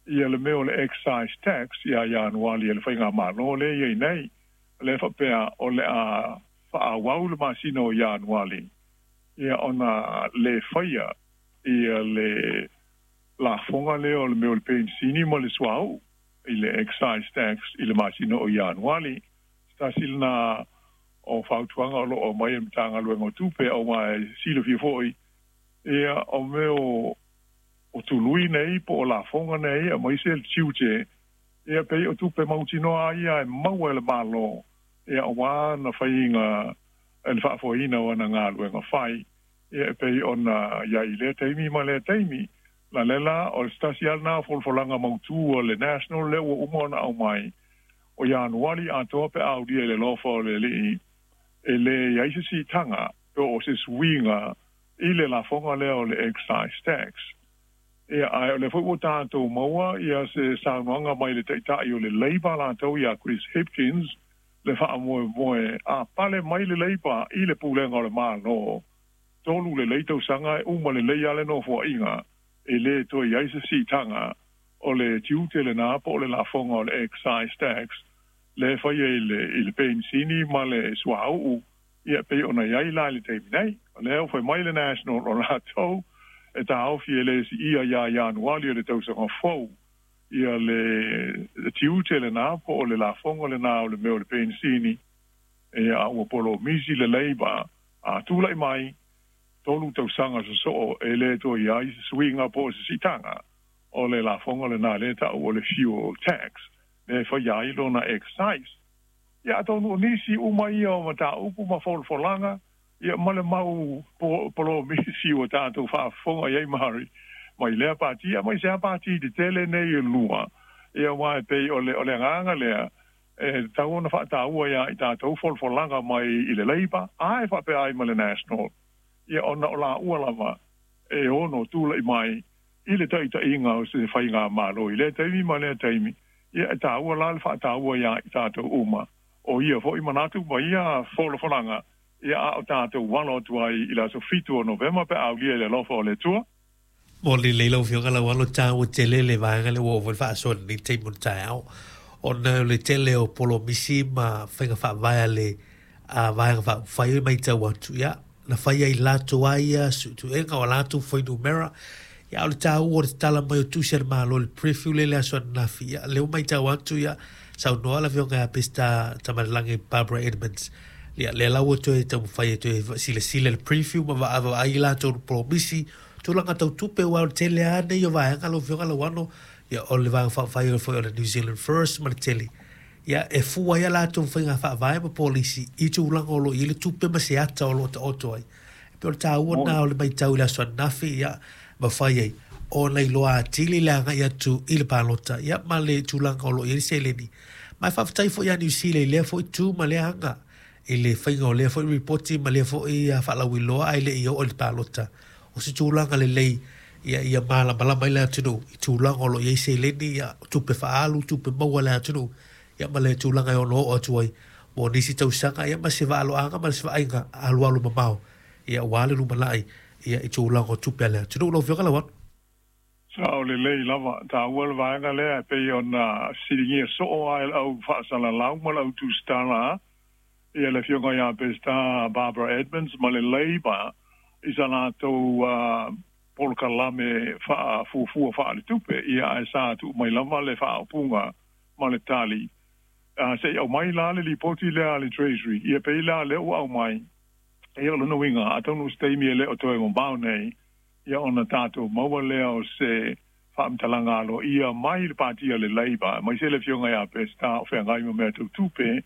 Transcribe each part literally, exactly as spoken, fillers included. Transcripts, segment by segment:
Ia le mea o le excise tax ia Ianuali e le faigamālō lea i ai nei, lea faapea o le a faaauau le masina o Ianuali ia ona lē faia ia le lafoga lea o le mea o le penisini ma le suauu i le excise tax i le masina o Ianuali. Se tasi lena o fautuaga o loo aumai e le Matagaluega o Tupe, aua e silafia foi ia o mea o o tului nei po o lafoga nei aemaise le tiute ia pei o tupe mautinoa ia e maua e le Mālō ia auā na faiga le faafoeina o ana galuega fai ia e pei ona iai i lea taimi ma lea taimi. La le la o le se tasi a lena o folafolaga mautū a le National lea ua uma ona aumai o Ianuali atoa pe aulia i le alofa o le Alii e lē iai se siitaga po o se suiga i le lafoga lea o le excise tax. Ia ae o lea foi ua tatou maua ia se saunoaga mai le Taitai o le Labour latou ia Chris Hipkins le faamoemoe a pale mai le Labour i le pulega o le Mālō tolu lelei tausaga e uma lelei a le nofoaiga e lē toe iai se siitaga o le tiute lenā po o le lafoga o le excise tax lea e faia i le i le penisini ma le suauu ia pei ona iai la i le taimi nei. O lea ua fai mai le National o latou e taofi e lē siia iā Ianuali o le tausaga fou ia le tiute lenā po o le lafoga lenā o le mea o le penisini ia a ua polomisi le Labour a tulai mai tolu tausaga sosoo e lē toe iai se suiga po o se siitaga o le lafoga lenā lea ta'u o le fuel tax lea e faia ai lona excise. Ia atonu o nisi uma ia o mataupu ma folafolaga ia ma le mau polomisi ua tatou faafofoga i ai mari mai lea pati aemaise a pati tetele nei e lua ia aua e pei o le o le agaga lea e tatau ona faataua iā i tatou folafolaga mai i le Labour ae faapea ai ma le National ia ona o laua lava e ono tula'i mai i le taʻitaʻiga o se faigamālō i lea taimi ma lea taimi. Ia e tāua la le faataua iā i tatou uma o ia foʻi manatu ma ia folafolaga ia a o tatou alo atu ai i le aso fitu o Novema pe a aulia i le alofa o le Atua. Mo lelei lau Afioga Laualo, taua tele le vaega lea ua oo foi le faasoa i lenei taimi o le taeao, ona o le tele o polomisi ma faiga faavae a le vaega faaupufai e matau atu, ia, na fai ai latou lava ia suetuega o a latou fuainumera. Ia, a o le taua o le tatala mai o tusi a le Malo i le preview lea i le aso ananafi, ia, lea ua matau atu, ia, saunoa le Afioga ia Peseta Tamalelagi Barbara Edmonds, ia, lea la ua toe taumafai e toe silasila i le preview ma vaavaai i latou polomisi tulaga tau tupe, aua o le tele lava nei o vaega lau Afioga Lauano, ia, o le Vaega Faaupufai foi o le New Zealand First ma le tele, ia, e fua ai a latou faiga faavae ma polisi i tulaga o lo o i ai le tupe ma se ata o lo o taoto ai. E pei o le taua lena o le matau i le aso ananafi, ia, mafai ai ona iloa atili le agai atu i le palota, ia, ma le tulaga o lo o i ai le seleni. Ma e faafetai foi ia Niu Sila i lea foi tu ma lea aga i le faiga o lea foi ripoti ma lea foi faalauiloa ae le i oo i le palota. O se tulaga lelei ia ia malamalama ai le atunuu i tulaga o lo o i ai seleni, ia, tupe faaalu, tupe maua a le atunuu, ia, ma le tulaga e ono oo atu ai mo nisi tausaga, ia, ma se vaaloaga ma se vaaiga alualu mamao, ia, aua le lumanai, ia, i tulaga o tupe a le atunuu. Lau Afioga Lauano. Sao lelei lava, taua le vaega lea e pei ona fesiligia soo lava e le au faasalalau ma le au tusitala ia le Afioga ia Peseta Barbara Edmonds ma le Labour i sa latou polokalame faafuafua faaletupe, ia ae sa tuu mai lava le faaupuga ma le tali se i aumai la le lipoti lea a le Treasury. Ia pei la lea ua aumai, ia o lona uiga atonu o se taimi e le o toe mamao nei ia ona tatou maua lea o se faamatalaga aloaia mai le pati a le Labour aemaise le Afioga ia Peseta o feagai ma mea tau tupe,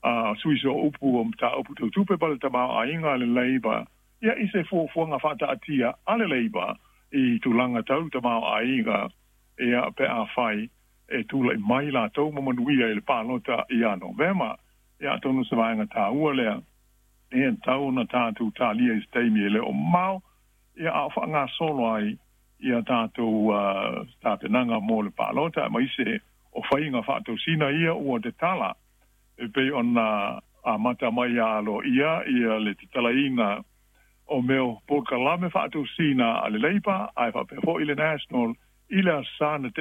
a sui sooupu o mataupu tau tupe pa le tamaoaiga a le Labour, ia i se fuafuaga faataatia a le Labour i tulaga tau tamaoaiga ia pe afai e tula'i mai latou ma manuia i le palota ia Novema. Ia atonu se vaega taua lea e tatau ona tatou talia i se taimi e le o mamao ia a o faagasolo ai ia tatou tapenaga mo le palota aemaise o faiga faatosina ia ua tatala e pei ona amata mai ia aloaia ia le tatalaina o mea o polokalame faatosina a le Labour ae faapea foi le National i le aso Sa na tea.